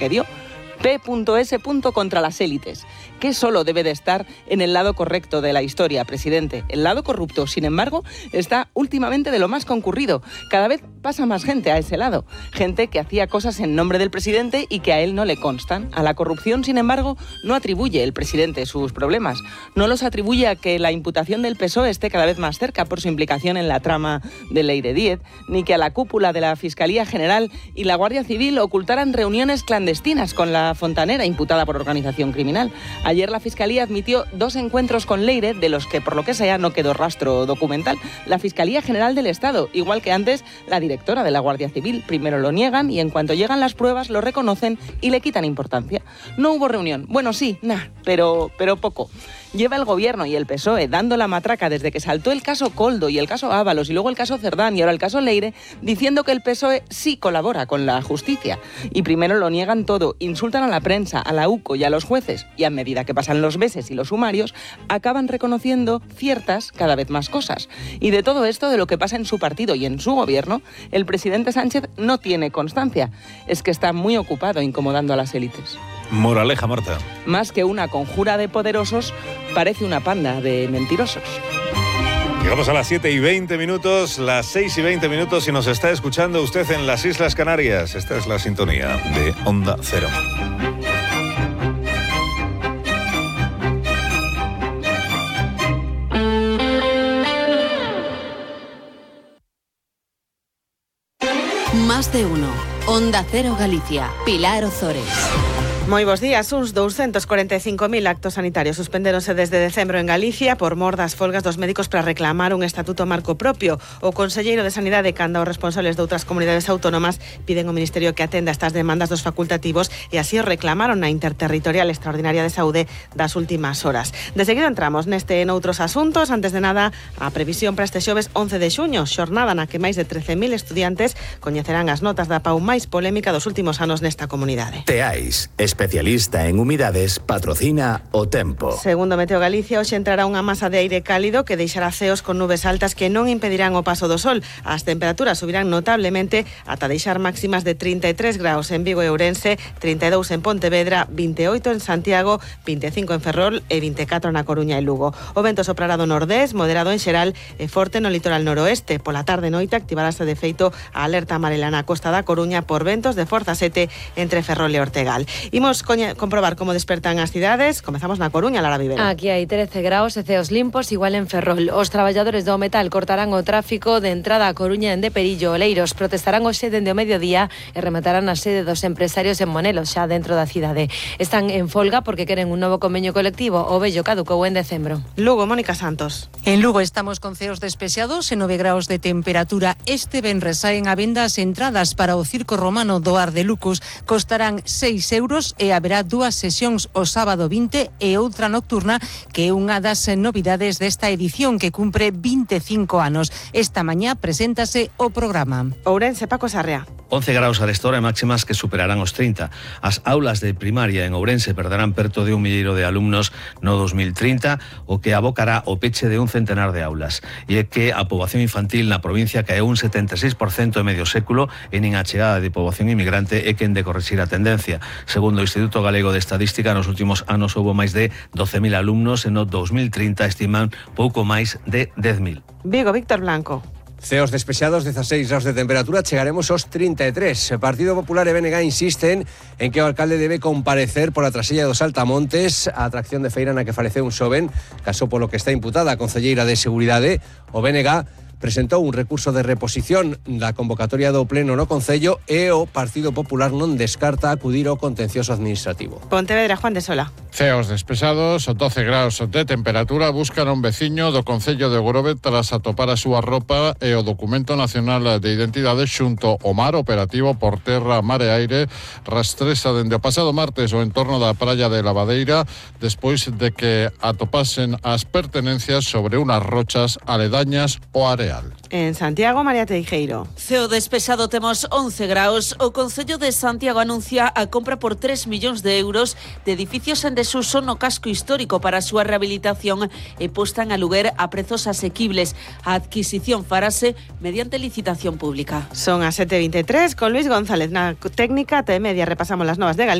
que dio. P.S. contra las élites, que solo debe de estar en el lado correcto de la historia, presidente. El lado corrupto, sin embargo, está últimamente de lo más concurrido. Cada vez pasa más gente a ese lado. Gente que hacía cosas en nombre del presidente y que a él no le constan. A la corrupción, sin embargo, no atribuye el presidente sus problemas. No los atribuye a que la imputación del PSOE esté cada vez más cerca por su implicación en la trama de Leire Díez, ni que a la cúpula de la Fiscalía General y la Guardia Civil ocultaran reuniones clandestinas con la fontanera imputada por organización criminal. Ayer la Fiscalía admitió 2 encuentros con Leire, de los que, por lo que sea, no quedó rastro documental. La Fiscalía General del Estado, igual que antes la directora de la Guardia Civil. Primero lo niegan y en cuanto llegan las pruebas lo reconocen y le quitan importancia. No hubo reunión. Bueno, sí, pero poco. Lleva el Gobierno y el PSOE dando la matraca desde que saltó el caso Koldo y el caso Ábalos y luego el caso Cerdán y ahora el caso Leire, diciendo que el PSOE sí colabora con la justicia. Y primero lo niegan todo, insultan a la prensa, a la UCO y a los jueces, y a medida que pasan los meses y los sumarios, acaban reconociendo ciertas, cada vez más cosas. Y de todo esto, de lo que pasa en su partido y en su Gobierno, el presidente Sánchez no tiene constancia. Es que está muy ocupado incomodando a las élites. Moraleja, Marta. Más que una conjura de poderosos, parece una panda de mentirosos. Llegamos a las 7:20, las 6:20, y nos está escuchando usted en las Islas Canarias. Esta es la sintonía de Onda Cero. Más de uno. Onda Cero Galicia. Pilar Ozores. Moi bos días. Uns 245.000 actos sanitarios suspendéronse desde decembro en Galicia por mor das folgas dos médicos para reclamar un estatuto marco propio. O conselleiro de Sanidade canda os responsables de outras comunidades autónomas piden ao Ministerio que atenda estas demandas dos facultativos e así o reclamaron na Interterritorial Extraordinaria de Saúde das últimas horas. De seguido entramos neste e noutros asuntos. Antes de nada, a previsión para este xoves 11 de xuño, xornada na que máis de 13.000 estudiantes coñecerán as notas da PAU máis polémica dos últimos anos nesta comunidade. Teais, especialista en humidades, patrocina o tempo. Segundo Meteo Galicia, hoxe entrará unha masa de aire cálido que deixará ceos con nubes altas que non impedirán o paso do sol. As temperaturas subirán notablemente ata deixar máximas de 33 graus en Vigo e Ourense, 32 en Pontevedra, 28 en Santiago, 25 en Ferrol e 24 na Coruña e Lugo. O vento soprará do nordés, moderado en xeral e forte no litoral noroeste. Pola tarde e noite activarase de feito a alerta amarela na costa da Coruña por ventos de forza 7 entre Ferrol e Ortegal. Imos comprobar como despertan as cidades. Comezamos na Coruña, Lara Vivero. Aquí hai 13 graus e ceos limpos, igual en Ferrol. Os traballadores do metal cortarán o tráfico de entrada a Coruña en de Perillo. Oleiros protestarán hoxe dende o mediodía e rematarán a sede dos empresarios en Monelos, xa dentro da cidade. Están en folga porque queren un novo convenio colectivo. O vello caducou en decembro. Lugo, Mónica Santos. En Lugo estamos con ceos despexados e 9 graus de temperatura. Este venres saen a venda as entradas para o Circo Romano do Ar de Lucos. Costarán 6 euros e haberá 2 sesións o sábado 20 e outra nocturna, que é unha das novidades desta edición que cumpre 25 anos. Esta mañá preséntase o programa. Ourense, Paco Sarria. 11 graus a esta hora e máximas que superarán os 30. As aulas de primaria en Ourense perderán perto de 1 milleiro de alumnos no 2030, o que abocará o peche de un centenar de aulas. E é que a poboación infantil na provincia caeu un 76% en medio século e nin a chegada de poboación inmigrante é quen de corrixir a tendencia. Segundo o Instituto Galego de Estadística, nos últimos anos houbo máis de 12.000 alumnos e no 2030 estiman pouco máis de 10.000. Vigo, Víctor Blanco. Ceos despexados, 16 graus de temperatura, chegaremos aos 33. O Partido Popular e BNG insisten en que o alcalde debe comparecer por a trasella dos Altamontes, a atracción de feira na que faleceu un xoven, caso polo que está imputada a concelleira de Seguridade. O BNG presentou un recurso de reposición da convocatoria do Pleno no Concello e o Partido Popular non descarta acudir ao contencioso administrativo. Pontevedra, Juan de Sola. Ceos despesados, 12 graus de temperatura, buscan un veciño do Concello de Grove tras atopar a súa roupa e o documento nacional de identidade xunto ao mar. Operativo por terra, mar e aire rastrexa dende o pasado martes o entorno da praia de Lavadeira despois de que atopasen as pertenencias sobre unas rochas aledañas ao área. real. En Santiago, María Teijeiro. Ceo despexado, temos 11 graus. O Concello de Santiago anuncia a compra por 3 millóns de euros de edificios en desuso no casco histórico para a súa rehabilitación e posta en aluguer a prezos asequibles. A adquisición farase mediante licitación pública. Son as 7:23 con Luis González na técnica. T media repasamos las novas de Galicia.